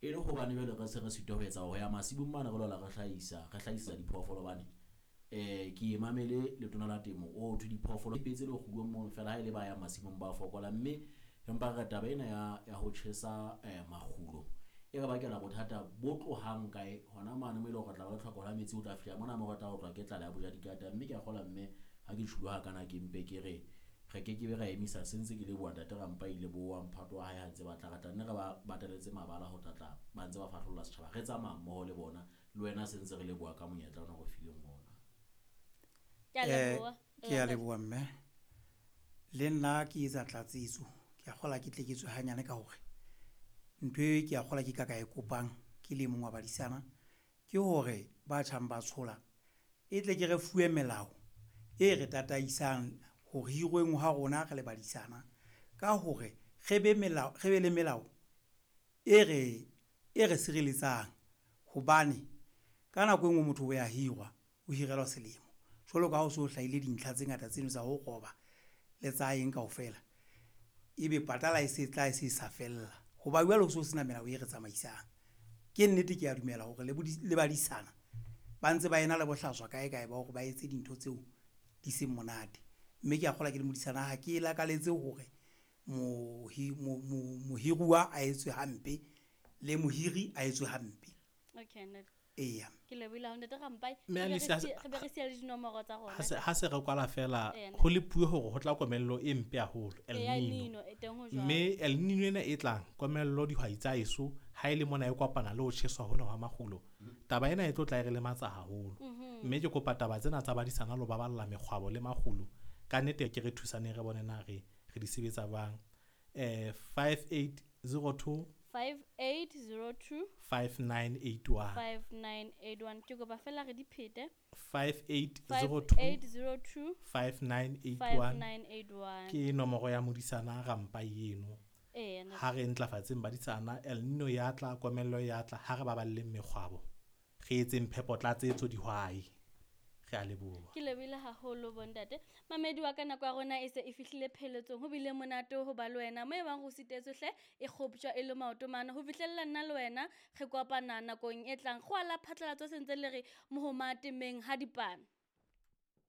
E le hobane jwale re se re sitwa ho etsa ho ya masimong mane re lola re hlahisa, re hlahisetsa diphoofolo hobane eh ke e mamele letona la temo o thwe diphoofolo petse le kgulong mono fela ha e le ba yang masimong ba fokola mme empa re taba ena ya ya ho tjhesa eh, makgulo e re bakela bothata bo tlohang kae hona mane mo e leng hore re tla ba le tlhoko la metsi o tla fihla mona mo re tla otlwa ke tlala ya boja dikata mme ke a kgola mme ha ke tjhulo ha kana ke mpe ke re re ke ke be ra emisa se ntse ke leboha ntate Rampa ile bo wa mphato wa hae ha ntse ba tla re tla nne re ba bataletse mabala ho tlatla ba ntse ba fahlolla setjhaba re tsamaya mmoho le bona le wena se ntse re leboha ka monyetla ona re fileng ona. Ke a Eh, leboha. ke a leboha mme le nna ke etsa tlatsetso ke a kgola ke tle ke tswe hanyane ka hore ntho e ke a kgola ke ka ka e kopang ke le mong wa badisana ke hore ba tjhang ba tshola e tle ke re fuwe melao e re tataisang ho hirweng ha rona re le badisana ka hore re be melao re be le melao e re e re sireletsang hobane ka nako e nngwe motho o ya hirwa o hirelwa selemo jwalo ka ha o so hlahile dintlha tse ngata tseno tsa ho roba le tsa eng kaofela ebe patala e se tla e se sa fella hoba jwale ho so sena melao e re tsamaisang. Ke nnete ke a dumela hore le le badisana ba ntse ba ena le bohlaswa kae kae ba hore ba etse dintho tseo di seng monate mme ke a kgolwa ke le modisana ha ke lakaletse hore mohiruwa a etswe hampe le mohiri a etswe hampe. Okay, ntate. Eya. Ke lebohile haholo ntate Rampai. Mme Re be Alice, re ha se- re be re siya le dinomoro tsa rona. Ha se ha se re kwala fela Eya, ho le puo hore ho tla komello e mpe haholo El Eya, El Nino. Nino, e teng ho jwalo. Mme El Nino ena e tlang komello dihwai tsa eso ha e le mona e kopana le ho tjheswa hona hwa makgulo taba ena e tlo tla e re lematsa haholo. Mme ke kopa taba tsena tsa badisana lo baballa mekgwabo le makgulo ka nnete ke re thusaneng re bone na re re di sebetsa jwang. 5802 5802 5981 5981. Ke kopa fela re di phete. 5802 5802 5981 5981. ke nomoro ya modisana Rampai eno. Eya, ntate. Ha re ntlafatseng badisana El Nino ya tla komello ya tla ha re baballeng mekgwabo re etseng phepo tlatsetso dihwai re a leboha. Ke lebohile haholo bontate. Mamedi wa ka nako ya rona e se e fihlile pheletsong. Ho bile monate ho ba le wena. Mo e bang go sitetswe hle e kgoptjwa e le maoto mane. Ho fihlella nna le wena re kopana nakong e tlang. Go ala phatlalatso se ntse le re mohoma temeng ha dipana.